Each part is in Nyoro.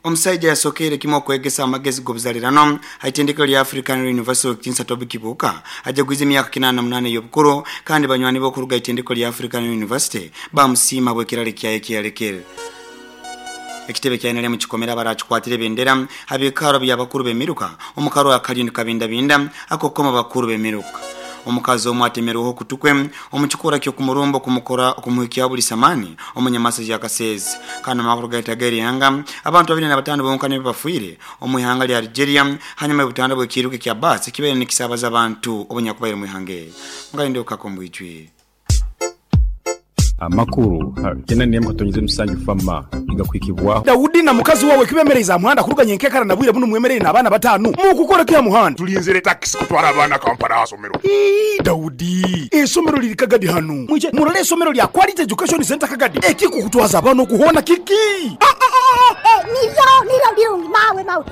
Omusaija yasokeire kimu okwegesa amagezi g'obuzalirano ha itendekero lya African University Owekitinisa Toby Kibuuka ajagwize emyaka 88 ey'obukuru kandi banywani be okuruga ha itendekero lya African University bamusiima habw'ekiraro kyaye ekiyalekere. Ekitebe kya nrm kikomere abarakikwatira ebendera ha bikaaro by'abakuru b'emiruka omu karwa akaliyo nikabindabinda ak'okukoma abakuru b'emiruka. Omukazi omu atemerweho okutu kwe omu kikorwa ky'okumurumba okumukora okumuhikyaho buli samaani omu nyamasa ya Kasese. Kandi omu makuru gaitu ag'erihanga, abantu 25 bonka nibo bafiire omu ihanga lya Algeria hanyuma y'obutanda bw'ekiiruka ekya baasi ekibaire nikisaabaza abantu obunyakubaire omu ihanga eryo. Mukalinde okukaka omu bwijwire. Amakuru kyenda n'emwe katonyeze musanju fama nigakuhikibwaho. Daudi na mukazi wawe kibemereize aha muhanda kuruga nyenkekara na bwire bunu mwemereire n'abaana batanu. Mukukora ki aha muhanda? Tulinzire takisi kutwara abaana Kampala aha somero. Ii, Daudi, eisomero liri Kagadi hanu. Mwije murole eisomero lya Quality Education Centre Kagadi. Ekikukutwaza abaana okuhoona kiki? Niryo, niryo lirungi mawe, mawe.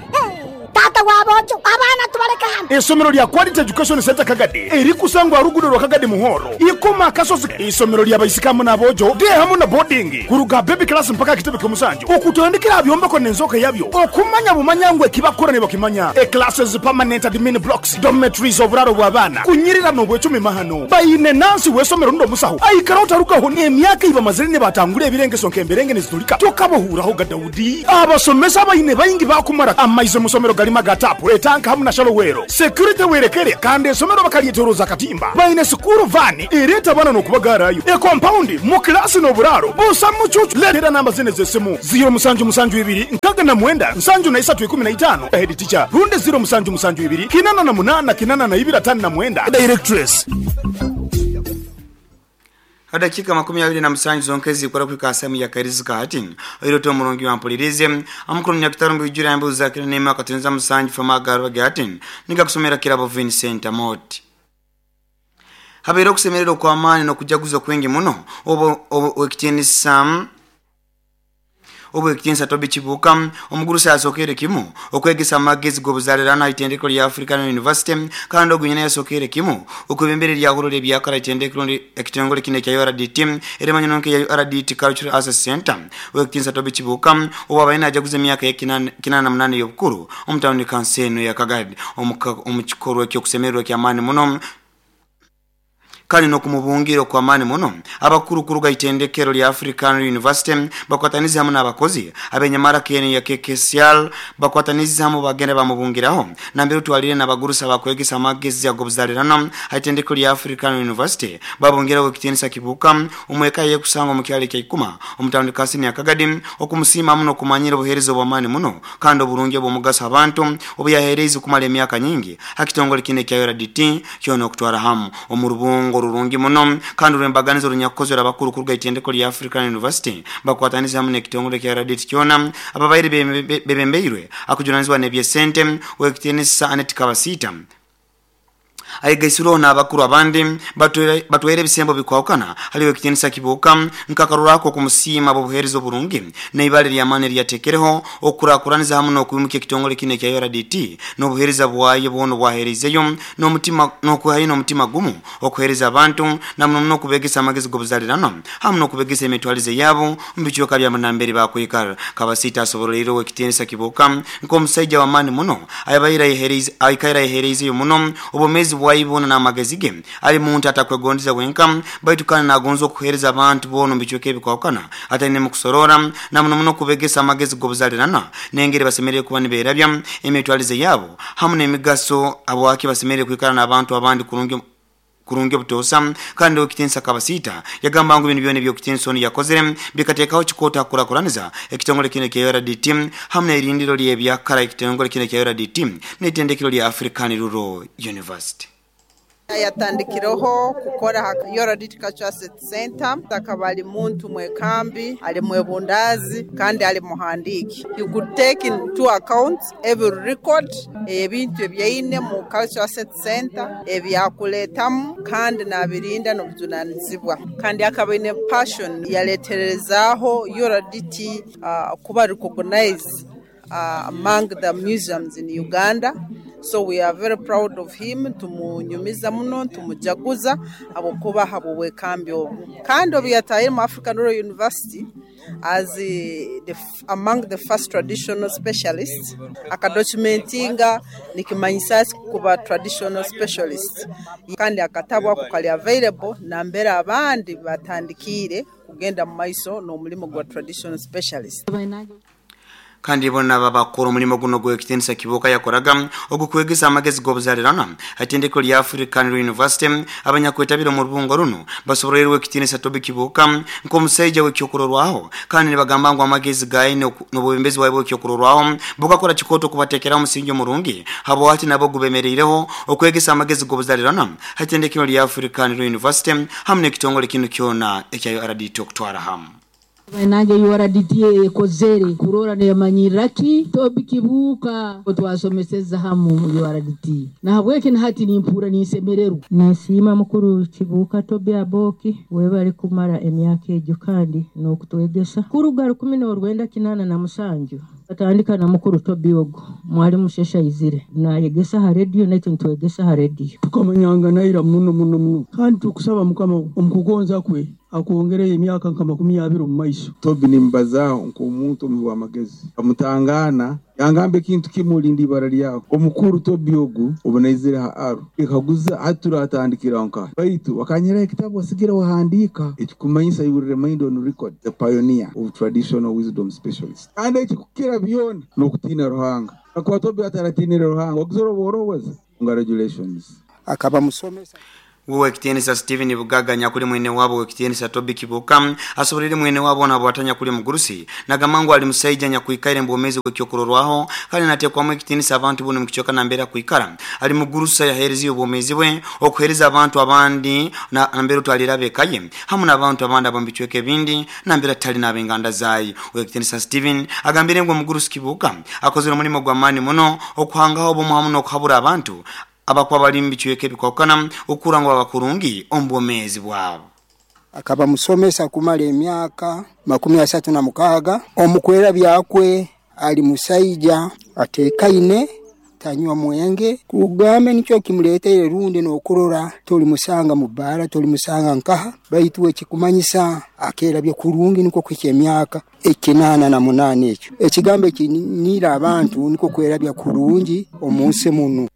Taata wa boojo, abaana tubaleke hanu. Eisomero lya Quality Education Centre Kagadi erikusangwa aha ruguudo rwa Kagadi Muhoro, Ikoma Akasozi. Eisomero lya baisiki hamu n'aboojo, day hamu na boarding, kuruga aha baby class mpaka aha kitebe ky'omusanju, okutandikira aha byombeko n'enzooka yabyo, okumanya bumanya ngu ekibakukora nibakimanya. E Classes, permanent admin blocks, dormitories, oburaaro bw'abaana, kunyirira n'obwecumi mahano. Baine nansi w'eisomero rundi omusaho aikaraho tarugaho n'emyaka ei bamazire nibatangura ebirengeso nk'emberenge nizitulika tokabahuurahoga. Daudi. Abasomesa abaine baingi baakumara amaizi omu somero garimu aga taapu, etanka hamu na shallow well. Security werekere kandi esomero bakaryetoroza akatimba. Baine sikuuru vaani ereeta abaana n'okubagaarayo. Ekompaundi mu kilaasi n'oburaaro busa mucuucu. Leetera namba zinu ez'esimu, ziiro musanju musanju ibiri nkaaga na mwenda nsanju na isatu ikumi na itaano, Head teacher, rundi ziiro musanju musanju ibiri kinana na munaana kinana na ibiri ataano na mwenda, Directress. Edakika 27 zonka ezikora kuhika aha saaha ya kairizi ka hati. Oire oti omurungi wampuliriize. Amukuru Munyakitaro Mbwijura yambuuza akira n'emwe akatonyeza musanju Fama agaruba ge hati nigakusomera Kirabo Vincent Amooti. Habaire okusemererwa okw'amaani n'okujaguza okwingi muno obu ow'ekitiinisa Ow'ekitiinisa Toby Kibuuka, omugurusi asokeire kimu okwegesa amagezi g'obuzaalirano aha itendekero lya African University kandi ogu nyina yasokeire kimu okwebembera eryahuro ly'ebyakara itendekero ekitongole kinu ekya URDT erimanyirwe nka eya URDT Cultural Access Centre. Ow'ekitiinisa Toby Kibuuka obu abaire najaguza emyaka ye 88 ey'obukuru omu tawuni kanso enu eya Kagadi omu kikorwa eky'okusemererwa eky'amaani muno Kandi n'okumubungira okw'amaani muno, abakuru kuruga ha itendekero lya African University bakwatanize hamu n'abakozi ab'enyamara k'enu ya KKCR bakwatanize hamu bagenda bamubungiraho nambere otwalire n'abagurusi abakwegesa amagezi ag'obuzalirano ha itendekero lya African University babungiraho Ow'ekitiinisa Kibuuka omu eka ye ekusangwa omu kyaro ekya Ikuma omu tawuni Kasini ya Kagadi okumusiima hamu n'okumanyira obuheereza obw'amaani muno kandi oburungi obw'omugaso ha bantu obuyaheereize kumara emyaka nyingi ha kitongole kinu ekya URDT Kyona okutwara hamu, omu rubungo orurungi muno kandi orw'embaganiza orunyakukozere abakuru kuruga itendeko lya African University bakwatanize hamu n'ekitongole kya RDT kyona ababaire bebembeirwe akujunanizibwa n'eby'esente Ow'ekitiinisa Annet Kabasiita ayegaisirweho n'abakuru abandi batwaire ebisembo bikwahukana hali Ow'ekitiinisa Kibuuka nk'akarorwaho k'okumusiima habw'obuheereza oburungi n'eibara ery'amaani eriyatekereho okukurakuraniza hamu n'okwimukya ekitongole kinu ekya URDT n'obuheereza bwayo bwona obwaheereizeyo n'omutima n'okwehayo n'omutima gumu okuheereza abantu na muno muno okubeegesa amagezi g'obuzaliranwa hamu n'okubeegesa emitwalize yaabo omu bicweka byabo nambere bakwikara. Kabasiita asoboroleire Ow'ekitiinisa Kibuuka nk'omusaija w'amaani muno ayabaire ayehereize aikaire ayehereizeyo muno obwomeezi bwaye bwona n'amagezi ge. Ali muntu atakwegondeza wenka baitu kandi n'agonza okuheereza abantu boona omu bicweka ebikwahukana atainemu kusoroora na muno muno okubegesa amagezi g'obuzaliranwa n'engeri basemeriire kuba niberabya emitwalize yaabo hamu n'emigaso habwaki basemeriire kwikara n'abantu abandi kurungi kurungi obutoosa. Kandi Ow'ekitiinisa Kabasiita yagamba ngu binu byona eby'Ow'ekitiinisa onu yakozere bikateekaho kikooto ha kukurakuraniza ekitongole kinu ekya URDT hamu n'erindiro ly'ebyakara ekitongole kinu ekya URDT n'itendekero lya African Rural University. Yatandikireho kukora ha Yorodit Cultural Assets Centre. Akaba ali muntu mwekambi, ali mwebundaazi kandi ali muhandiiki. He could take into account every record ey'ebintu ebi aine mu Cultural Assets Centre ebi akuletamu kandi nabirinda n'obujunanizibwa. Kandi akaba aine passion yaletererezaaho URDT kuba recognized among the museums in Uganda so we are very proud of him nitumunyumiza muno nitumujaguza habwokuba habw'obwekambi obu. Kandi obu yatahire omu African Rural University. as among the first traditional specialists. Akadocumentinga nikimanyisa kuba traditional specialist, kandi akatabu ako kali available nambere abandi batandikire kugenda mu maiso n'omulimu gwa traditional specialist. Kandi bona babakora omulimo guno gw'ekitiinisa Kibuuka yakoraga ogukwegesa amagezi g'obuzaalirana itendeko lya African University. Abanyakwetabira omu rubungo runo basobolerwe ekitiinisa Toby Kibuuka nk'omusaija w'ekyokurorwaho, kandi nibagamba ngu amagezi gaye n'obwebembezi bwawe bw'ekyokurorwaho bukakora kikooto okubateekeraho omusingi omurungi habwati nabo gubemereireho okwegesa amagezi g'obuzaalirana itendekero lya African University hamu n'ekitongole kinu kyona ekya URDT okutwara hamu. Nange URDT ekozere kurora neyamanyiraki Toby Kibuuka twasomeseza hamu URDT, nahabweki nahati nimpura ninsemererwa. Ninsiima mukuru Kibuuka Toby Aboki webali kumara emyaka egyo kandi n'okutwegesa. Kuruga 1987 atandika na mukuru Toby ogu mwalimu Shesha Izire nayegesa ha radio naitu nitwegesa ha radio. Tukamanyanga naira muno muno muno, kandi tukusaba Mukama omukugonza kwe akwongereyo emyaka nka 20 omu maiso. Toby nimbazaaho nk'omuntu omuhi w'amagezi, amutangana yangamba ekintu kimu olindi ibara lyawe. Omukuru Toby ogu obunaizire ha Aro ekaguza hati turatandikira nka baitu wakanyeraho ekitabu wasigira wahandiika ekikumanyisa you will remain on record the pioneer of traditional wisdom specialist. Kandi ekikukira byona n'okutiina Ruhanga. Akuba Toby ataratinire Ruhanga wakuzora obworowoza. Congratulations. Akaba musomesa Wekitiinisa Steven Bugaga nyakuli mwene wabo wekitiinisa Toby Kibuuka asobolere mwene wabo nabwatanya kuli mugurusi nagamba ali musaija nyakuikaire mbwomezi bwekyokurorwaho kandi natekwamu ekitiinisa abantu buno mukichoka nambera kuikara ali mugurusa yahereza obwomezi bwe okuhereza abantu abandi na nambera utwalira bekaye hamu n'abantu abandi abambichweke ebindi nambera tali n'abenganda zayi. Wekitiinisa Steven agambire ngo mugurusi Kibuuka akozere omulimo gwa maani muno okuhangaho obumu hamu n'okuhabura abantu abakwa bali mbichweke bikwakana okurangwa abakurungi ombwomezi bwabo. Akaba musomesa kumala emyaka 36 omukwera byakwe ali musaija atekaine tanywa mwenge kugambe nikyo kimuleteire rundi n'okurora toli musanga mu bara toli musanga nkaha baitu ekikumanyisa akera bye kurungi niko kwike emyaka 88 ekyo ekigambo ekinira abantu niko kwera bya kurungi omunsi muno.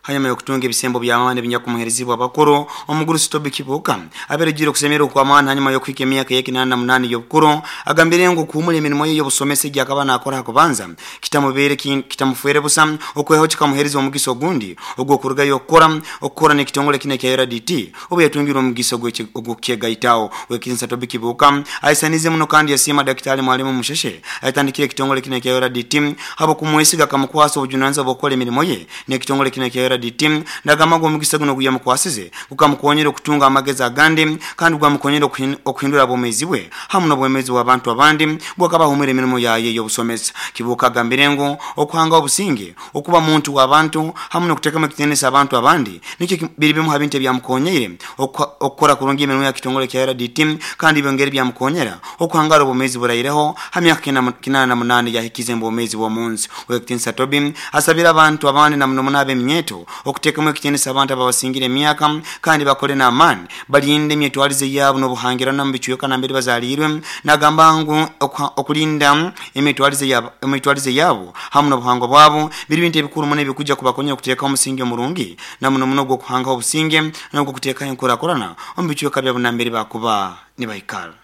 Hanyuma yokutunga ebisembo bya maani ebinyakumu abakuru omugurusi Toby Kibuuka aberejire okusemera kwa maani hanyuma yokuhika emyaka ye 88 y'obukuru agambire ngu kuhumula emirimo ye y'obusomesa egyakaba nakora hakubanza kitamubere kitamufuere busa okweho kikamuhereza omugisa ogundi ogw'okurugayo okukora n'ekitongole kino ekya URDT obu yatungire omugisa ogw'okukyegaitaho. Wekitiinisa Toby Kibuuka aisanize muno kandi yasiima Daktari Mwalimu Musheshe ayatandikire ekitongole kino ekya URDT habo kumwesiga akamukwasa obujunanizibwa bw'okukora emirimo ye n'ekitongole kino ekya URDT ndagamba ngo omugisa guno guyamukwasize gukamukonyera okutunga amagezi agandi kandi gwamukonyera okuhindura obwomezi bwe hamu n'obwomezi bw'abantu abandi bwakabahumira emirimo yaye y'obusomesa. Kibuuka agambire ngo okuhanga obusinge okuba muntu w'abantu hamu n'okuteekamu ekitiinisa abantu abandi nikyo biri bimu ha bintu ebyamukonyere okukora kurungi emirimo ya kitongole kya URDT kandi byongere byamukonyera okuhangara obwomezi buraireho ha myaka 88 yahikize obwomezi bw'omunsi. Wekitiinisa Toby asabira abantu abandi na muno muno ab'eminyeto okuteekamu ekitiinisa abantu ababasingire emyaka kandi bakole n'amaani balinde emyetwalize yaabo n'obuhangirana mu bicweka nambere bazaliirwe nagamba ngu okulinda emitwalize yaabo hamu n'obuhangwa bwabo biri bintu ebikuru muno ebikujja kubakonyera okuteekaho omusingi omurungi na muno muno ogw'okuhangaho obusinge n'ogw'okuteekaho enkurakurana omu bicweka byabo nambere bakuba nibaikara.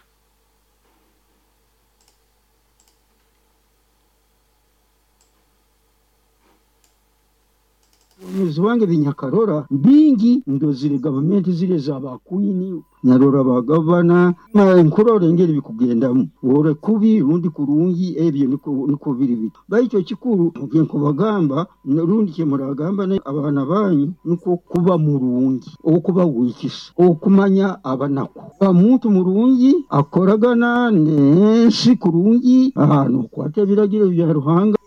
Omwezi wange binyakarora bingi ndozire gavumenti zire z'abakwini nyarora bagavana nkurora engeri bikugendamu ore kubi rundi kurungi ebyo niko biri bito baitu ekikuru nkubagamba rundi kyemuragamba abaana banyu niko kuba murungi okuba wikisa okumanya abanaku muntu murungi akoragana n'ensi kurungi nokwata ebiragiro bya Ruhanga.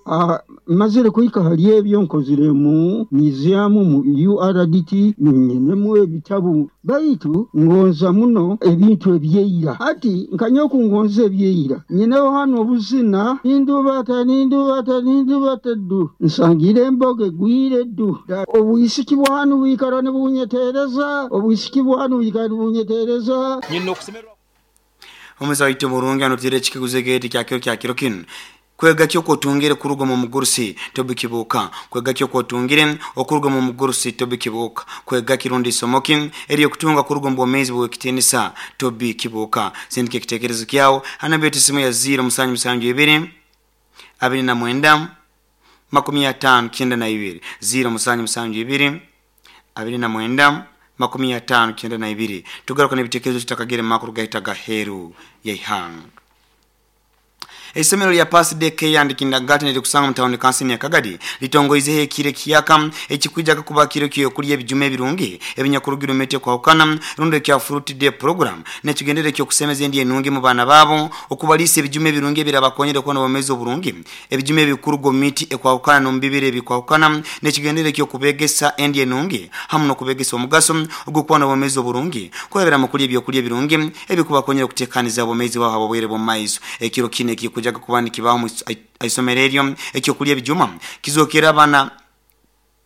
Mazire kuhika hali ebyo nkozire mu museum mu URDT nyinemu ebitabu baitu ngonza muno ebintu ebyeira hati nkanyoku ngonza ebyeira nyineho hano obuzina nindubata nindubata nindubata ddu nsangire emboga egwire ddu obwisiki bwanu bwikara nibunyetereza obwisiki bwanu bwikara nibunyetereza. Omuza waitu burungi anotire ekikaguzo egeti kyakiro kyakiro kinu. Kwega ki okwotungire kuruga mu mugurusi Tobi Kibuuka? Kwega ki okwotungire okuruga mu mugurusi Tobi Kibuuka? Kwega kirundi isomo ki eryokutunga kuruga mu bwomeezi bw'ekitiinisa Tobi Kibuuka? Sindika ekiteekerezo kyawe hanamba yetu esimu ya 0772 29 50 92 0772 29 50 92. Tugaruka n'ebiteekerezo tutakagere mu makuru gahita gaheeru yaihanga. Isomero lya Pass Day Care and Kindergarten lirikusanga mu town council ya Kagadi litongoizeho ekiro ekiyaka ekikwijaga kuba kiro kyokulya ebijuma ebirungi ebinyakurugira omu miti ekwahukana rundi ekya Fruit Day program nekigendere ekyokusemeza endi enungi mu baana baabo, okubaliisa ebijuma ebirungi ebirabakonyera okuba n'obwomeezi oburungi, ebijuma ebikuruga omu miti ekwahukana n'omu bibira ebikwahukana, nekigendere ekyokubegesa endi enungi hamu n'okubegesa omugaso ogw'okuba n'obwomeezi oburungi kurabira mu kulya ebyokulya ebirungi ebikubakonyera okutekaniza obwomeezi bwabo habw'obwire bw'omu maiso. Ekiro kinu ekikujaga kuba nikibaho mu isomero eryo ekyokulya ebijuma kizokera abaana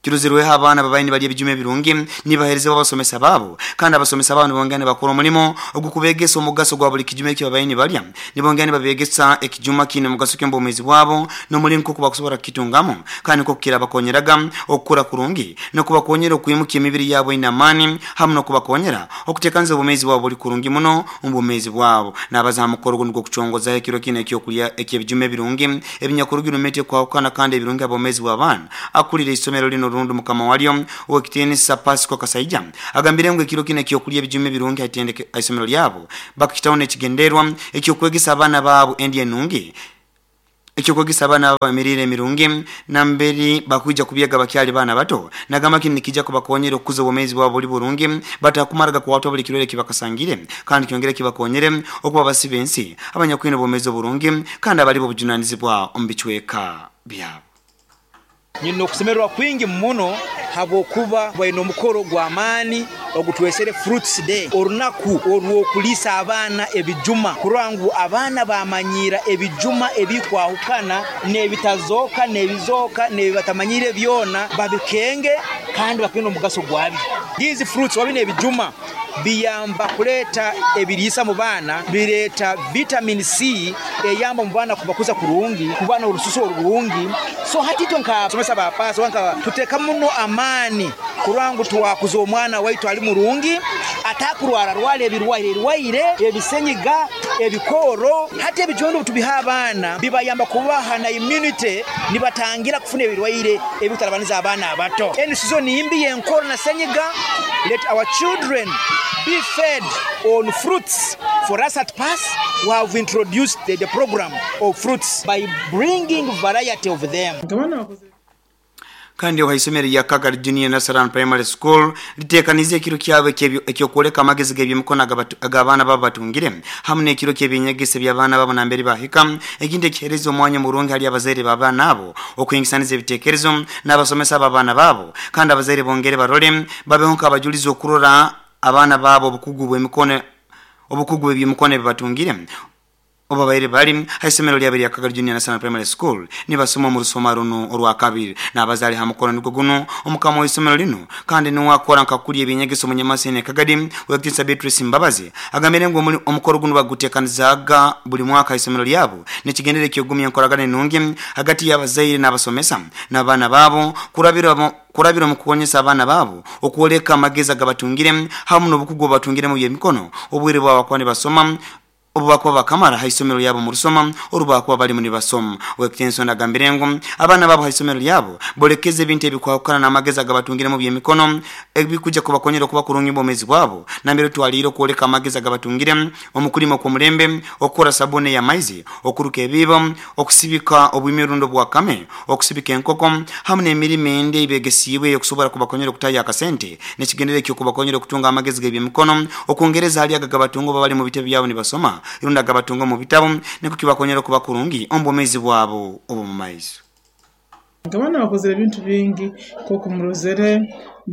kiruzirweho abaana babaye nibalya ebijuma ebirungi nibaheerezebwa abasomesa baabo, kandi abasomesa baabo nibongera nibakora omulimo ogw'okubegesa omugaso gwa buli kijuma eki babaye nibalya, nibongera nibabegesa ekijuma kiine omugaso ki omu bwomeezi bwabo n'omulingo nk'oku bakusobora kukitungamu, kandi nk'oku kirabakonyeraga okukura kurungi n'okubakonyera okwimuka emibiri yabo eine amaani hamu n'okubakonyera okuteekaniza obwomeezi bwabo buli kurungi muno omu bwomeezi bwabo. N'abaza ha mukoro gunu gw'okucongozaho ekiro kinu ekyokulya eky'ebijuma ebirungi ebinyakurugire omu miti ekwahukana kandi ebirungi ha bwomeezi bw'abaana, akulira isomero lino rundi mukama walyo ow'ekitiinisa Pasco Kasaija agambire ngu ekiro kinu ekyokulya ebijuma ebirungi haitendeke isomero lyabo bakakitaho n'ekigenderwa ekyokwegesa abaana baabo endi enungi, ekyokwegesa abaana baabo emiriire emirungi namberi bakwija kubyega bakyali baana bato. Nagamba kinu nikijja kubakonyera okukuza obwomeezi bwabo buli burungi batakumaraga kuwatwa buli kirwaire ekibakasangire, kandi kyongere kibakonyere okuba basiba ensi abanyakwine obwomeezi oburungi kandi abali b'obujunanizibwa omu bicweka byabo. Nyine okusemererwa kwingi muno habwokuba baine omukoro gw'amaani ogutwesere Fruits Day, orunaku orw'okuliisa abaana ebijuma kurora ngu abaana bamanyiira ebijuma ebikwahukana n'ebitazooka n'ebizooka n'ebibatamanyire byona babikenge kandi bakenge n'omugaso gwabyo. These fruits oba binu ebijuma biyamba kuleeta ebiriisa mu baana, bireeta vitamin C eyamba omu baana kubakuza kurungi, kuba n'orususu orurungi. So hati itwe nk'abasomesa ba paasi oba nka tuteeka muno amaani kurora ngu twakuza omwana waitu ali murungi, atakurwararwara ebirwaire rwaire, ebisenyiga, ebikooro. Hati ebijuma binu obutubiha abaana bibayamba kubaha na immunity, nibatangira kufuna ebirwaire ebikutarabaniza abaana abato. Enu sizoni mbi y'enkooro na senyiga, let our children be fed on fruits. For us at PASS, we have introduced the program of fruits by bringing variety of them. Kandi ohaisomero lya Kagadi Junior Nursery Primary School litekanize ekiro kyabo ekyokwoleka amagezi g'ebyemikono ag'abaana babo batungire hamu n'ekiro ky'ebyenyegesa by'abaana babo nambere bahika, ekintu ekihereza omwanya murungi hali abazaire b'abaana abo okuhingisaniza ebiteekerezo n'abasomesa b'abaana babo, kandi abazaire bongere barole babeho nk'abajulizi okurora abaana babo obukugu bw'emikono obukugu bw'ebyemikono ebi batungire oba baire bali haisomero lyabo lya Kagadi Junior National Primary School nibasoma omu rusoma runu orwakabiri. N'abazaali ha mukono nigwo guno omukama w'isomero linu kandi niwe akora nkakulya ebyenyegesa omunyamasene Kagadi w'ekitiinisa Beatrice Mbabazi agambire ngu omukoro gunu bagutekanizaaga buli mwaka haisomero lyabo n'ekigendere ekyogumya enkoragana enungi hagati y'abazaire n'abasomesa n'abaana baabo kurabira omu kukonyesa abaana baabo okwoleka amagezi agabatungire hamu n'obukugu obubatungire mu by'emikono obwire bwabo bakuba nibasoma obu bakuba bakamara haisomero lyabo mu rusoma oru bakuba balimu nibasoma. Owekitiinisa agambire ngu abaana baabo haisomero lyabo bolekeze ebintu ebikwahukana n'amagezi agabatungire mu by'emikono ebikuja kubakonyera okuba kurungi obwomeezi bwabo nambere twaliire okwoleka amagezi agabatungire omu kulima okw'omulembe, okukora sabuni ey'amaizi, okuruka ebiibo, okusibika obwimi rundi obwakame, okusibika enkoko hamu n'emirimo endi eyibegesiibwe ey'okusobora kubakonyera okutahya akasente n'ekigendere eky'okubakonyera okutunga amagezi g'ebyemikono okwongereza hali aga agabatunga oba bali mu bitebe byabo nibasoma rundi agabatunga omu bitabu nikwo kibakonyera okuba kurungi omu bwomeezi bwabo obw'omu maiso. Abaana bakozere ebintu bingi nk'oku murozere.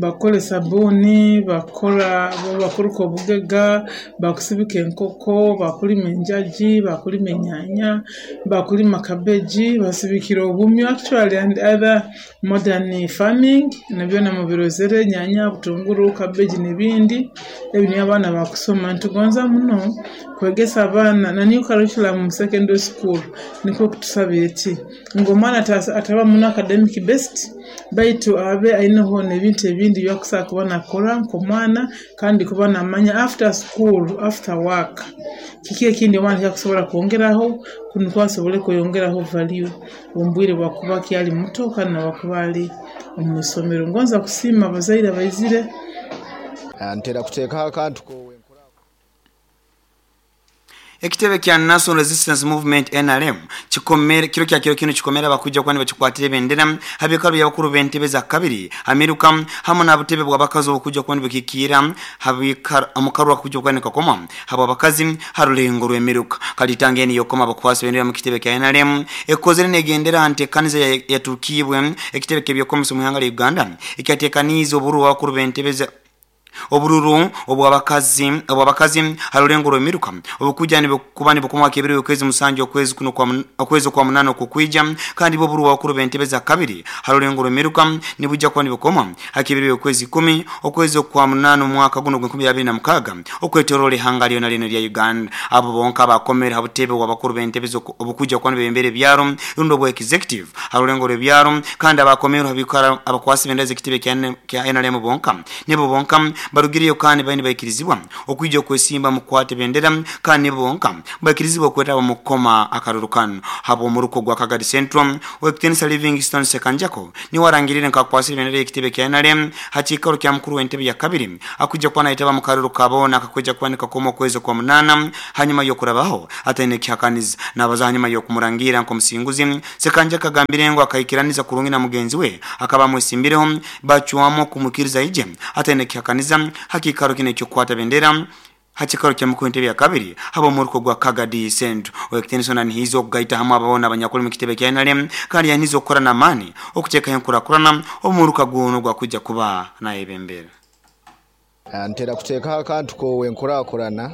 Bakukora esabuuni, bakukora bakuruka obugega, bakusibika enkoko, bakulima enjagi, bakulima enyaanya, bakulima kabeji, basibikire obumyu actually and other modern farming na byona mubirozere enyaanya, butunguru, kabeji n'ebindi ebi nibyo abaana bakusoma. Nitugonza muno kwegesa abaana na new curriculum mu secondary school nikwo kutusaba eti ngu omwana ataba muno academic based baitu abe aineho n'ebintu ebindi ebyakusobola kuba nakora nk'omwana kandi kuba namanya after school, after work kiki ekindi omwana ekyakusobora kwongeraho nukwo asobole kweyongeraho value omu bwire bwakuba akyali muto kandi nabwakuba ali omu isomero. Ngonza kusiima abazaire abaizire. Ntera kuteekaho akantu kowe. Ekitebe kya National Resistance Movement NRM kikomere kiro kya kiro kino kikomera bakujja kwani bakikwatire bendera habikalo byabakuru b'entebe za kabiri amiruka hamwe n'abutebe bw'abakazi obukujja kwani bukikira habikara amukarwa kujja kwani kakoma habo abakazi harulengo rw'emiruka kalitangeni yokoma abakwasi bendera mu kitebe kya NRM ekozere negendera ntekaniza yatukibwe ekitebe ky'ebyokomesa mu ihanga lya Uganda ekyatekaniza oburu bw'abakuru b'entebe za obururu obwabakazi harulengo rw'emiruka obukuja nibukubani bukoma kebiri okwezi musanju okwezi kuno kwa okwezi kwa munano kukwija kandi bo buru wakuru bentebe za kabiri harulengo rw'emiruka nibuja kwa nibukoma hakibiri okwezi 10 okwezi kwa munano mwaka guno gwe 2026 okwetorole hanga lyona lino lya Uganda. Abo bonka bakomera habutebe wabakuru bentebe obukuja kwa nibembere byaro rundo bwa executive harulengo rw'byaro kandi abakomera habikara abakwasi bendeze kitebe kya NRM bonka nebo bonka barugiriyo kandi bayini bayikirizibwa okwijja okwesimba mukwate bendera kandi bonka bayikirizibwa okwetaba mukoma akarurukano habo omuruko gwa Kagadi Central wekitenisa Livingstone Sekanjako ni warangirire nkakwasira bendera ekitebe kya NRM hakikaro kya mukuru w'entebe ya kabiri akujja kwa naitaba mukaruru kabona akakujja kwanika koma okwezo kwa munana hanyuma yokurabaho ataine kihakaniza nabaza hanyuma yokumurangira nkomusinguzi Sekanjako agambire ngo akayikiraniza kurungi na mugenzi we akaba mwesimbireho bachuamo kumukiriza ije ataine kihakaniza hakikaro kine cyo kwata bendera hakikaro kya mukuru entebe ya kabiri habo muruko gwa Kagadi Central wekitenso hizo kugaita hamwe ababona abanyakuri mu kitebe kya NRM kandi yanizo gukora na mani okuteka yankurakurana omuruka guno gwa kujja kuba nayebembera. Ntera kuteekaho akantu kowe nkurakurana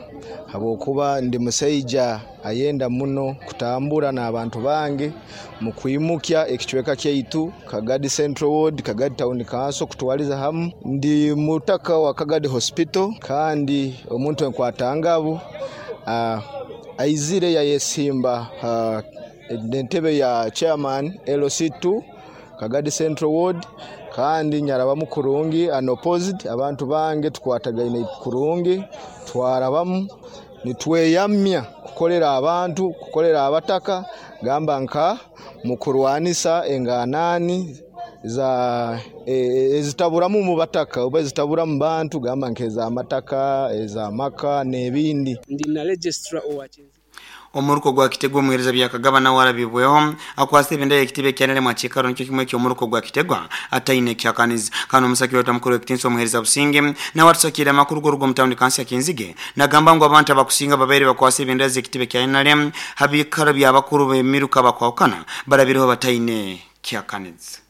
habwokuba ndi musaija ayenda muno kutambura n'abantu bange mu kwimukya ekicweka kyaitu Kagadi Central Ward, Kagadi Town Council kutwaliza hamu. Ndi mutaka wa Kagadi Hospital kandi omuntu enkwatangabo aizire yayesimba entebe ya chairman LC2 Kagadi Central Ward kandi nyarabamu kurungi unopposed abantu bange tukwatagaine kurungi twarabamu nitweyamya kukolera abantu kukolera abataka gamba nka mukurwanisa enganani za ezitaburamu mu bataka oba ezitabura mu bantu gamba nkeza amataka eza maka n'ebindi. Ndi na registrar owa Omuruko gwa Kitegwa muhereza bya Kagaba warabibweho akwase bendera ekitebe kya NRM akikaro nicyo kimwe cyo omuruko gwa Kitegwa ataine kyakaniza kano omusaki wa mukuru w'ekitinso omuhereza Businge na watusakira amakuru gorugo mu town council ya Kinzige nagamba ngo abantu abakusinga babere bakwase bendera z'ekitebe kya NRM habikaro byabakuru b'emiruka bakwakana barabireho bataine kyakaniza.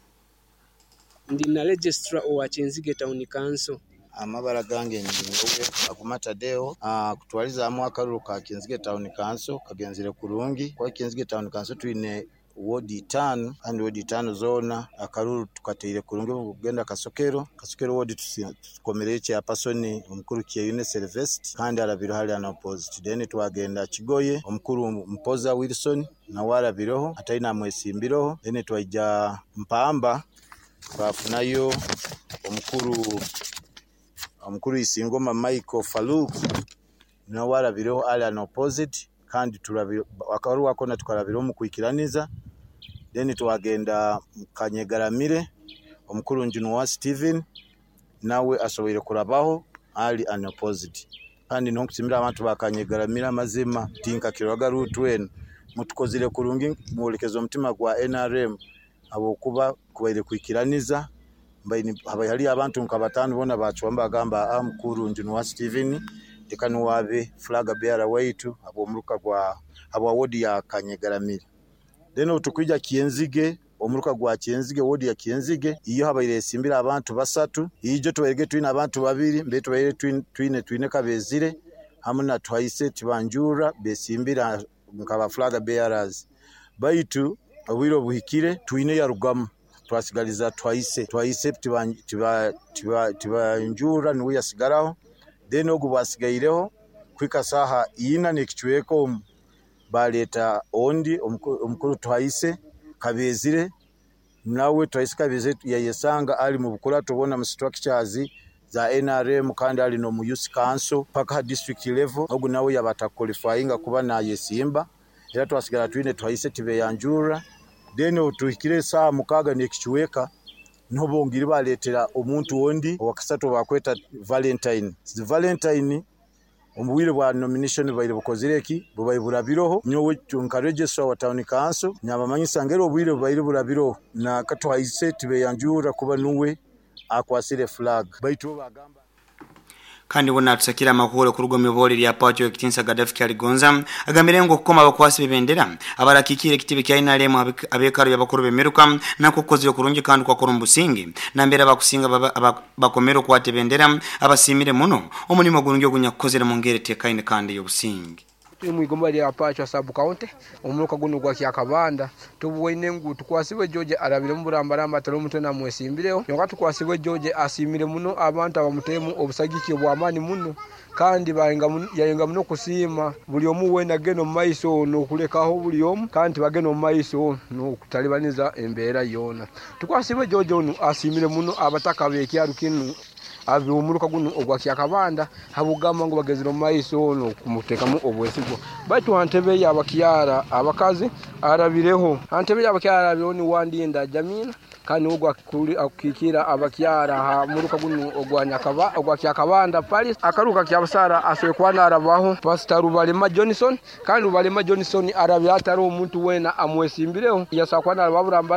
Ndi na registrar owa Kinzige Town Council. Amabara gange nyowe Aguma Tadeo kutwaliza akaruru ka Kinzige Town Council kagenzire kurungi kwa Kinzige Town Council twine ward 5 kandi ward 5 zona akaruru tukateire kurungi kugenda Kasokero ward tukomereye cha person omukuru Kyeyune Sylvester kandi arabiro hali ana opposite then twagenda Kigoye omukuru Mpoza Wilson na warabiroho ataina mwesimbiroho then twaija Mpamba twafunayo omukuru Isingoma Michael Farouk na warabiroho ali an opposite kandi turabiro akaru wakona tukarabiro mu kwikiraniza then twagenda Kanyegaramire omukuru Njunwa Steven nawe asoboire kurabaho ali an opposite kandi nonkusimira abantu bakanyegaramira amazima tinka kiroga rutwen mutukozire kurungi mulekezo omutima gwa NRM abokuba kubaire kwikiraniza mbaini hali abantu nkabatano bona bachwamba gamba mukuru Njunwa Steven tekanu wabe flag bearer waitu abo muruka gwa abo ward ya Kanyegaramire then otukwija Kienzige Omuruka gwa Kyenzige, wodi ya Kyenzige, iyo habaire esimbira abantu 3. Ijo tubaire twine abantu 2, mbe tubaire twine Kabezire hamwe na Twaise Tibanjura besimbira nkaba flag bearers. Baitu obwire obuhikire twine yarugamu, twasigaliza Twaise Tibanjura niwe yasigaraho. Then ogu bwasigaireho kwika saha 4 n'ekicweka omu baleta ondi omukuru Twaise Kabezire, nawe Twaise Kabezire yayesanga ali mu bukurato bona mu structures za NRM kandi ali no mu youth council paka district level. Ogu nawe yabata qualifying kuba nayesimba, era twasigara twine Twaise Tibeyanjura. Then otuhikire saa 6 n'ekicweka niho bongire baletera omuntu ondi owakasatu bakweta Valentine. Valentine omubwire bwa nomination baire bukozire ki bubaire burabiroho. Nyowe nka registrar wa town council nyabamanyisa ngero obwire bubaire burabiroho na Katwaise Tibeyanjura kuba nuwe akwasire flag. Baitu bagamba kandi bona tusakira amakuru kuruga mu bole lya pacho ekitinsa Gaddafi Kyaligonza agambire ngo kukoma abakwasi bebendera abarakikire ekitibe kya NRM abekaro y'abakuru bemeruka nako kozire kurungi kandi kwakora mbusingi nambera bakusinga bakomero kwate bendera abasimire muno omulimo gurungi ogunyakukozere mu ngere tekaine kandi y'obusingi. Turi mwigomba lya Pacho sub county omuruka guno gwa Kyakabanda tubwoine ngu tukwasibwe George arabire mu burambaramba atari omuntu namwesimbireho, yonka tukwasibwe George asimire muno abantu abamutemu obusagiki obw'amaani muno kandi yayenga muno kusiima buli omu wena agenda omu maiso n'okulekaho buli omu kandi bagenda omu maiso n'okutalibaniza embeera yoona. Tukwasibwe George onu asimire muno abataka b'ekyaro kinu ab'omuruka guno ogwa Kyakabanda habugamba ngu bagezire omu maiso n'okumuteekamu obwesigwa. Baitu ha ntebe y'abakyara abakazi arabireho, ha ntebe y'abakyara arabireho ni Wandinda Jamina kandi niwe akukiikira abakyara ha muruka guno ogwa Kyakabanda Paris. Akaruka kyabasara asoboire kuba naarabaho Pastor Rubalema Johnson, kandi Rubalema Johnson arabire atari omuntu weena amwesimbireho yasobola kuba naaraba burambara.